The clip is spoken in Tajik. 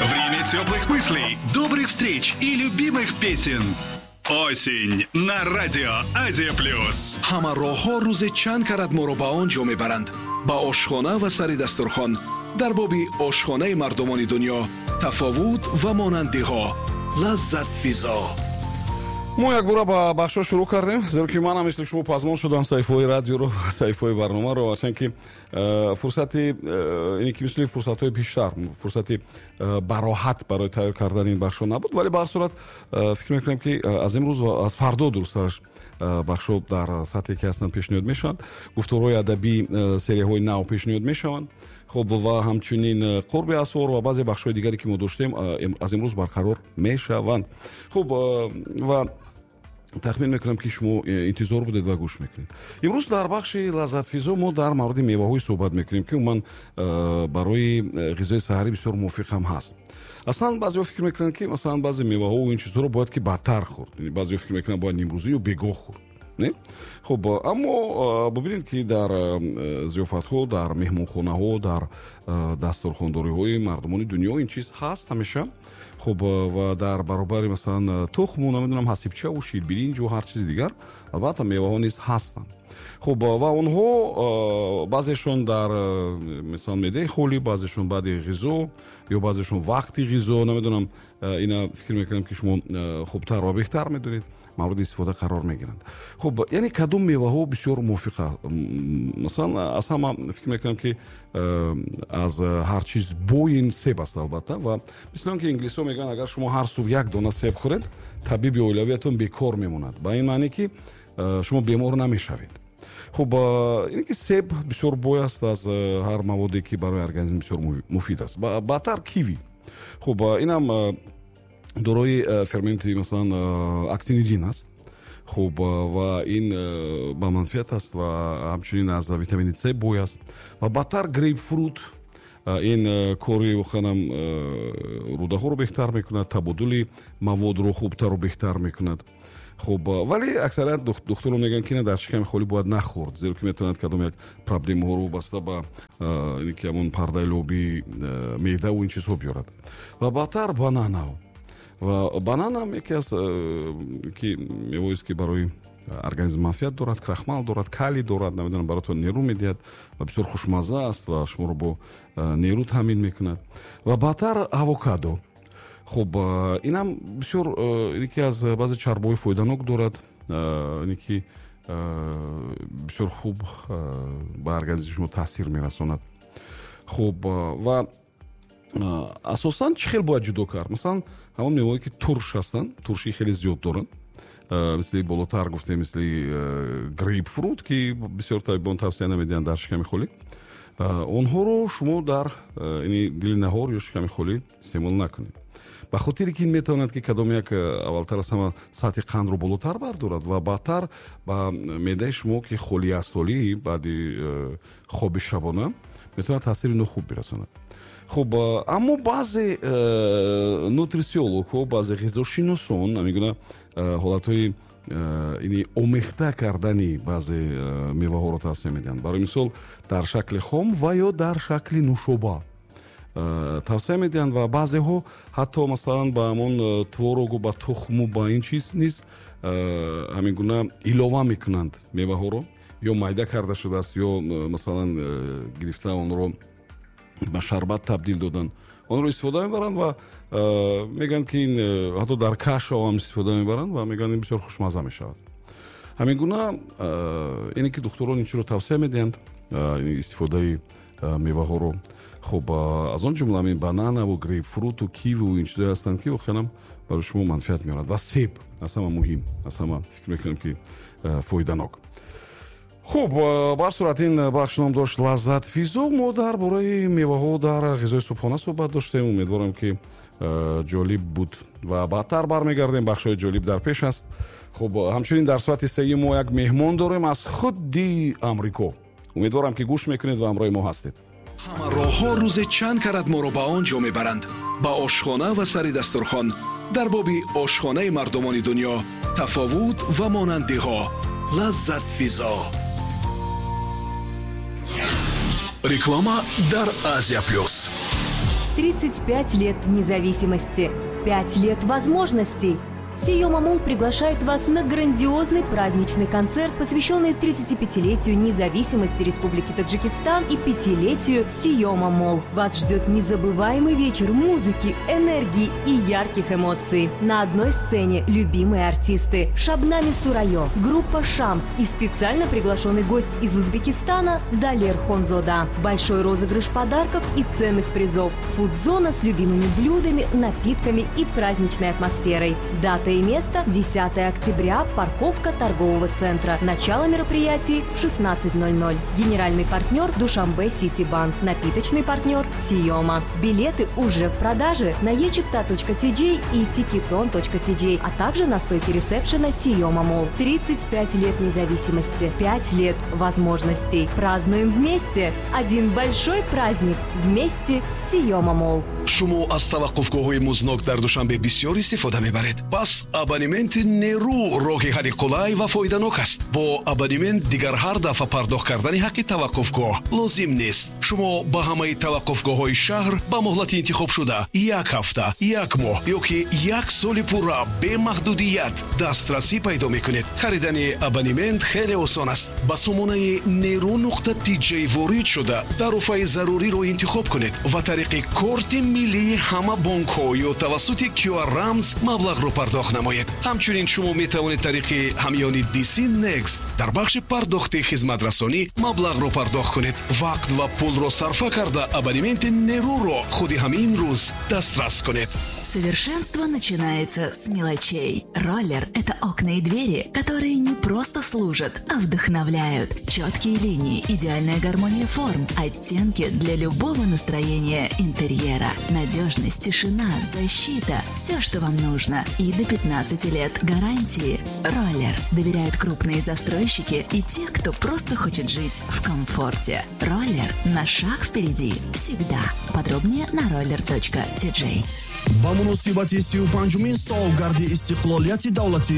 Время теплых мыслей, добрых встреч и любимых песен. Осень на радио Азия Плюс. Ҳама роҳҳо рӯзе чанд карат моро ба он ҷо мебаранд, ба ошхона ва сари дастурхон. Дар боби ошхонаи мардумони дунё, тафовут ва монандиҳо. Лаззатфизо. Мо якбора ба бахшҳо шурӯъ кардем, зеро ки манам мисли шумо пазмон шудам саҳифаҳои радиоро ва саҳифаҳои барномаро, ҳарчанд ки фурсати ине ки мисли фурсатҳои пештар фурсати бароҳат барои тайёр кардани ин бахшҳо набуд, вале ба ҳар сурат фикр мекунем, ки аз имрӯз ва аз фардо дурусттараш бахшҳо дар сатҳе ки ҳастанд пешниҳод мешаванд, гуфторҳои адабӣ, серияҳои нав пешниҳод мешаванд. Хуб, ва ҳамчунин қурби асвор ва баъзе бахшҳои дигаре ки мо доштем, аз имрӯз барқарор мешаванд. Хуб, ва тахмин мекунам, ки шумо интизор будед ва гӯш мекунед. Имрӯз дар бахши Лаззатфизо мо дар мавриди меваҳое суҳбат мекунем, ки умуман барои ғизои саҳарӣ бисёр мувофиқ ҳам ҳаст. Аслан баъзеҳо фикр мекунанд, ки масалан баъзе меваҳову ин чизҳоро бояд ки баъдтар хӯрд, баъзеҳо фикр мекунанд, бояд нимрӯзӣ ё бегоҳ хӯрд, не? Хуб, аммо бубинед, ки дар зиёфатҳо, дар меҳмонхонаҳо, дар дастурхондориҳои мардумони дунё ин чиз ҳаст ҳамеша. Хуб, ва дар баробари масалан тухму, намедонам, ҳасибчаву ширбиринҷу ҳар чизи дигар, албатта, меваҳо низ ҳастанд. Хуб, ва онҳо баъзешон дар масалан меъдаи холӣ, баъзешон баъди ғизо ё баъзешон вақти ғизо, намедонам, ина фикр мекунам, ки шумо хубтар ва беҳтар медонед, мавриди истифода қарор мегиранд. Хуб, яъне кадом меваҳо бисёр мувофиқ? Масалан, аз ҳама фикр мекунам, ки аз ҳар чиз бой ин себ аст, албатта. Ва мисли он ки инглисҳо мегӯянд, агар шумо ҳар субҳ як дона себ хӯред, табиби оилавиятон бекор мемонад, ба ин маъне ки шумо бемор намешавед. Хуб, ине ки себ бисёр бой аст аз ҳар маводе, ки барои организм бисёр муфид аст. Баъдтар киви. Хуб, инам дорои ферменти, масалан, актинидин аст. Хуб, ва ин ба манфиат аст ва ҳамчунин аз витамини С бой аст. Ва баъдтар грейпфрут, ин кори воқеанам рӯдаҳоро беҳтар мекунад, табодули маводро хубтару беҳтар мекунад. Хуб, вале аксарият духтурон мегӯянд, ки дар шиками холӣ бояд нахӯрд, зеро ки метавонад кадом як проблемаҳоро вобаста ба ин ки ҳамон пардаи лобии меъдаву ин чизҳо биёрад. Ва баъдтар банана. Ва бананам яке аз ки мевоест, ки барои организм манфиат дорад, крахмал дорад, калий дорад, намедонам, баротон нерӯ медиҳад ва бисёр хушмазза аст ва шуморо бо нерӯ таъмин мекунад. Ва баъдтар авокадо. Хуб, инам бисёр яке аз баъзе чарбҳои фоиданок дорад, ине ки бисёр хуб ба организми шумо таъсир мерасонад. Хуб, ва асосан чӣ хел бояд ҷудо кард? Масалан, ҳамон меваҳое, ки турш ҳастанд, туршии хеле зиёд доранд, мисли болотар гуфтем, мисли грейпфрут, ки бисёр табибон тавсия намедиҳанд дар шиками холӣ, онҳоро шумо дар ини дили наҳор ё шиками холӣ истеъмол накунед, ба хотире ки ин метавонад, ки кадом як аввалтар аз ҳама сатҳи қандро болотар бардорад ва баъдтар ба меъдаи шумо, ки холӣ аст ҳолӣ баъди хоби шабона, метавонад таъсири нохуб бирасонад. Хуб, аммо баъзе нутрициологҳо, баъзе ғизошиносон ҳамин ҳолатҳои ини омехта кардани баъзе меваҳоро тавсия медиҳанд. Барои мисол, дар шакли хом ва ё дар шакли нӯшоба тавсия медиҳанд ва баъзеҳо ҳатто масалан ба ҳамон творогу, ба тухму ба ин чиз низ ҳамин гуна илова мекунанд меваҳоро, ё майда карда шудааст, ё масалан гирифта онро ба шарбат табдил додан, онро истифода мебаранд ва мегӯянд, ки ин ҳатто дар кашао ҳам истифода мебаранд ва мегӯянд, ин бисёр хушмазза мешавад. Ҳамин гуна ине ки духтурон ин чиро тавсия медиҳанд, истифодаи меваҳоро. Хуб, аз он ҷумла ҳамин бананаву грейпфруту киву ин чизое ҳастанд, ки воқеанам барои шумо манфиат меорад, ва себ аз ҳама муҳим, аз ҳама фикр мекунам, ки фоиданок. Хуб, ба ҳар сурат, ин бахш ном дошт Лаззатфизо. Мо дар бораи меваҳо дар ғизои субҳона суҳбат доштем. Умедворам, ки ҷолиб буд ва баъдтар бармегардем, бахшҳои ҷолиб дар пеш аст. Хуб, ҳамчунин дар соати сеюм мо як меҳмон дорем аз худи Амрико. Умедворам, ки гӯш мекунед ва ҳамроҳи мо ҳастед. Ҳама роҳҳо рӯзе чанд карат моро ба он ҷо мебаранд, ба ошхона ва сари дастурхон. Дар боби ошхонаи мардумони дунё, тафовут ва монандиҳо. Лаззатфизо. Реклама дар Азия Плюс. 35 лет независимости, 5 лет возможностей. Сиёма Молл приглашает вас на грандиозный праздничный концерт, посвященный 35-летию независимости Республики Таджикистан и пятилетию Сиёма Молл. Вас ждет незабываемый вечер музыки, энергии и ярких эмоций. На одной сцене любимые артисты: Шабнами Сурайо, группа «Шамс» и специально приглашенный гость из Узбекистана Далер Хонзода. Большой розыгрыш подарков и ценных призов. Фудзона с любимыми блюдами, напитками и праздничной атмосферой. Дата и место: 10 октября, парковка торгового центра. Начало мероприятий 16:00. Генеральный партнер: Душанбе Сити Банк. Напиточный партнер: Сиома. Билеты уже в продаже на echipta.tj и ticketon.tj, а также на стойке ресепшена Сиома Молл. 35 лет независимости, 5 лет возможностей. Празднуем вместе. Один большой праздник вместе с Сиома Молл. Шумо аз таваққуфгоҳҳои музднок дар Душанбе бисёр истифода мебаред. Пас абонементи Нерӯ роҳи ҳалли қулай ва фоиданок аст. Бо абонемент дигар ҳар дафъа пардохт кардани ҳаққи таваққуфгоҳ лозим нест. Шумо ба ҳамаи таваққуфгоҳҳои шаҳр ба муҳлати интихобшуда: як ҳафта, як моҳ ё ки як соли пурра бемаҳдудият дастрасӣ пайдо мекунед. Харидани абонемент хеле осон аст. Ба сомонаи нерӯ.тj ворид шуда, тарофаи заруриро интихоб кунед ва тариқи корти миллии ҳама бонкҳо ё тавассути QR рамз маблағро пардохт намоед. Ҳамчунин шумо метавонед тариқи ҳамёни DC Next дар бахши пардохти хизматрасонӣ маблағро пардохт кунед. Вақт ва пулро сарфа карда, абонементи Нерӯро худи ҳамин рӯз дастрас кунед. Совершенство начинается с мелочей. Роллер – это окна и двери, которые не просто служат, а вдохновляют. Четкие линии, идеальная гармония форм, оттенки для любого настроения интерьера. Надежность, тишина, защита – все, что вам нужно. И до 15 лет гарантии. Роллер. Доверяют крупные застройщики и те, кто просто хочет жить в комфорте. Роллер на шаг впереди всегда. Подробнее на roller.tj. Ба муносибати 35-умин солгарди истиқлолияти давлатии.